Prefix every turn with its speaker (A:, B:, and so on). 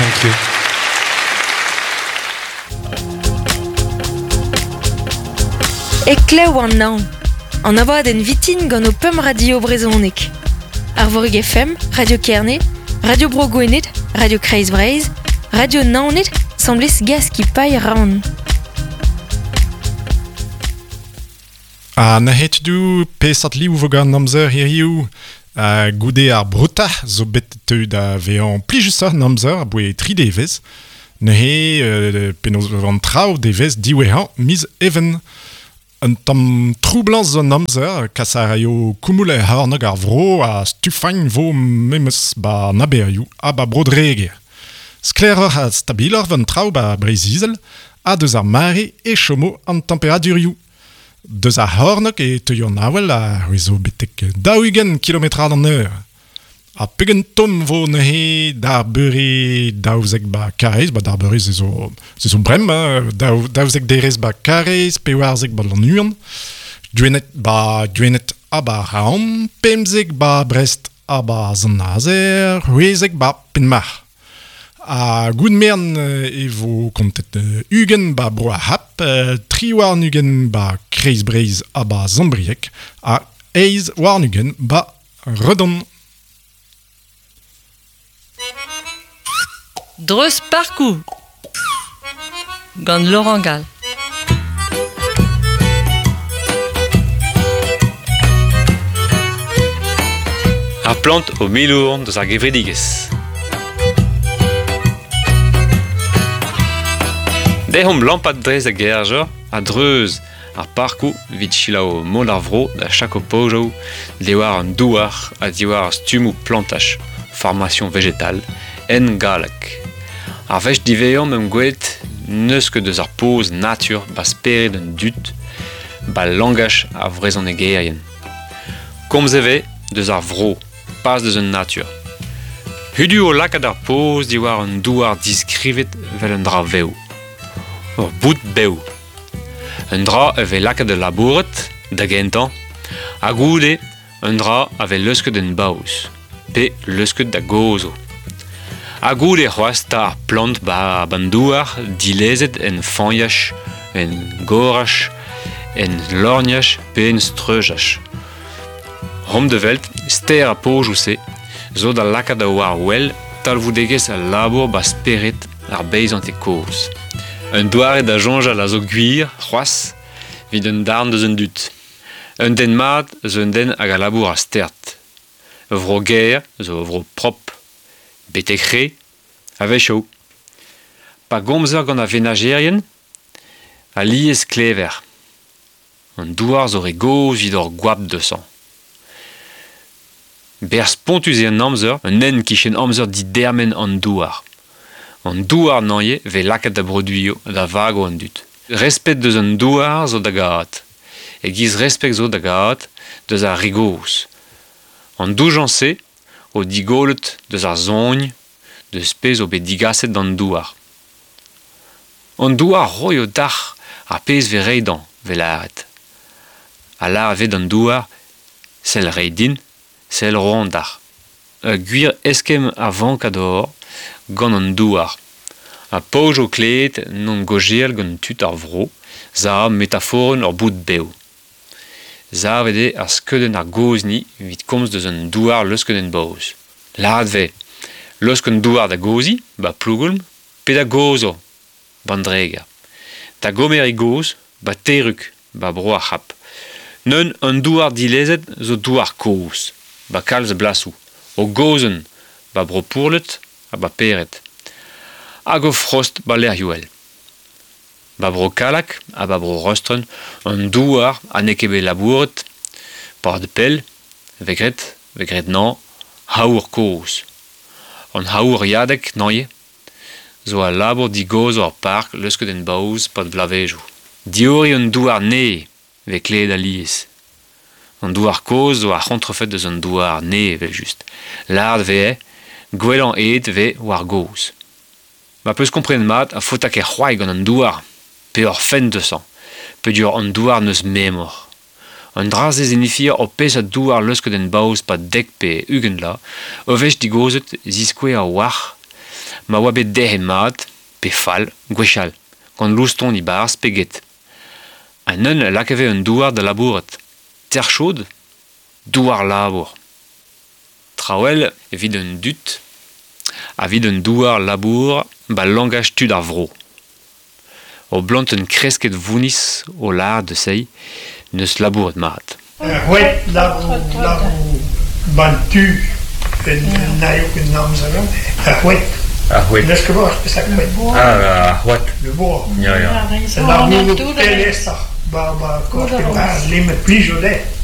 A: Thank you.
B: Heklev an naon. An abadenn vitin gant ho pemp radio brezhonek. Arvorig FM, Radio Kerne, Radio Bro Gwened, Radio Kreiz Breizh, Radio Naoned, 'sambles Gaskipailh Rann.
A: Ha neuze tudoù, peseurt liv 'vo gant an amzer hiziv? Goude ar broutañ zo bet teu da vezañ plijusoc'h an amzer aboe tri devezh. Neuze penaos 'vo an traoù devezh diwezhañ miz Even. Un tamm troublañs zo an amzer, kas a raio koumoul er c'hornôg ar vro ha stufagn 'vo memes 'ba an aberioù ha 'ba Bro-Dreger. Sklaeroc'h ha stabiloc'h 'vo an traoù 'ba Breizh-Izel ha deus ar mare e chomo an temperadurioù. Deus ar c'hornôg e teuio an avel a c'hwezo betek 40 kilometrad an eur. Ha pegen tomm 'vo neuze d'ar beure 12 ba Karaez, ba d'ar beure se zo, se zo bremañ, 12 derez ba Karaez, 14 ba Lannuon, Gwened ba Gwened ha ba Raon, 15 ba Brest ha ba Sant-Nazer, 16 ba Penmarc'h. Ha goudmern e vo kontet 20 ba Bro ar C'hap, 23 ba Kreiz-Breizh ha ba Sant-Brieg, ha 28 ba Redon.
C: Dreuz parkoù gant Laurent Gall.
D: Ar plant o milourn deus ar gevredigezh. Dezhomp lampat dre da gerjor a-dreuz ar parkoù evit selaou mod ar vro da chako pojoù diwar an douar ha diwar ar stummoù plantaj, formation végétale, en galleg. Ar wech diwezhañ 'meump gwelet n'eus ket deus ar poz natur 'ba spered an dud 'ba langaj ar vrezhonegerien. Komz e vez deus ar vro, pas deus an natur. Hudu o lakaat ar poz diwar un douar diskrivet 'vel un dra vev. Ur boud bev. Un dra a vez lakaet da labourat, da gentañ, ha goude un dra a vez leusket en baoz, pe leusket da gozho. Ha goude c'hoazh 'ta ar plant 'ba an douar dilezet en fañach, en goraj, en lorgnaj pe en streujaj. Roomp da welet ster ar pozioù-se zo da lakaat da war wel talvoudegezh al labour 'ba spered ar beizanted kozh. Un doare da soñjal a zo gwir c'hoazh evit un darn deus an dud. Un den mat zo un den hag a labour a-stert. Ur vro gaer zo ur vro propr, betek re, a-wechoù. Pa gomzer gant ar venajerien, alies klever. An douar zo re gozh evit hor goap deusañ. Berzh spontus eo an amzer, un hent 'kichen amzer didermen an douar. An douar neuze 'vez lakaet da broduioù da vago an dud. Respet deus an douar zo da gad. E-giz respet zo da gad deus ar re gozh. An doujañs-se o digollet deus ar soñ deus pezh zo bet digaset d'an douar. An douar 'roio dac'h ar pezh 'vez ret dañ, 'vez lâret. Ha lâret 'vez d'an douar sell reiñ din, sell roan dac'h. Ur gwir eskemm a vank a-dor gant an douar. Ha paour zo klevet n'on gaozeal gant tud ar vro 'za metaforenn ur boud bev. Savet eo ar skeudenn ar gozhni evit komz deus an douar leusket en baoz. Lâret 'vez laosk an douar da gozhiñ 'ba Plougoulm pe da gozhañ 'ban Dreger. Da gomer e gozh 'ba Terrug 'ba Bro ar C'hab. Neun an douar dilezet zo douar kozh 'ba kalz a blasoù. O gozhenn 'ba Bro Pourlet ha 'ba Pered. Hag o frost 'ba lec'hioù all. 'Ba Bro Kallag ha 'ba Bro Rostren an douar ha n'eo ket bet labouret 'pad pell 'vez graet 'vez graet 'nañ haour kozh. An haouriadeg neuze zo al labour digozhañ ar park leusket en baoz 'pad bloavezhioù. Dioriñ an douar nevez 'vez klevet alies. An douar kozh zo ar c'hontrefed eus an douar nevez evel-just. Lâret 'vez gwellañ aet 'vez war gozh. Ma 'peus komprenet mat a faota ket c'hoari gant an douar pe ur fent deusañ peogwir an douar n'eus memor. An dra-se 'zinifia ur pezh a douar leusket en baoz 'pad dek pe 20 vloaz, ur wech digozhet 'ziskouez a-walc'h Ma oa bet derc'het mat, pe fall, gwechall, gant loustoni barzh pe get. Ha neun lakave un douar da labourat. Ter chaude, douar labour. Traoù all evit an dud, evit un douar labour ba langaj tud ar vro. O blantenn kresket vounis o lâret de seiz neus labouret mat.
E: C'hwet labour labour ban tu en naio ket amzer Ar c'hwet.
F: Ar c'hwet.
E: N'eus ket boaz peseurt c'hwet.
F: Ah, ar c'hoad.
E: Le bois.
F: Ya, ya.
E: Labour pelesoc'h ba ba korte ba lemet plijo dezhe.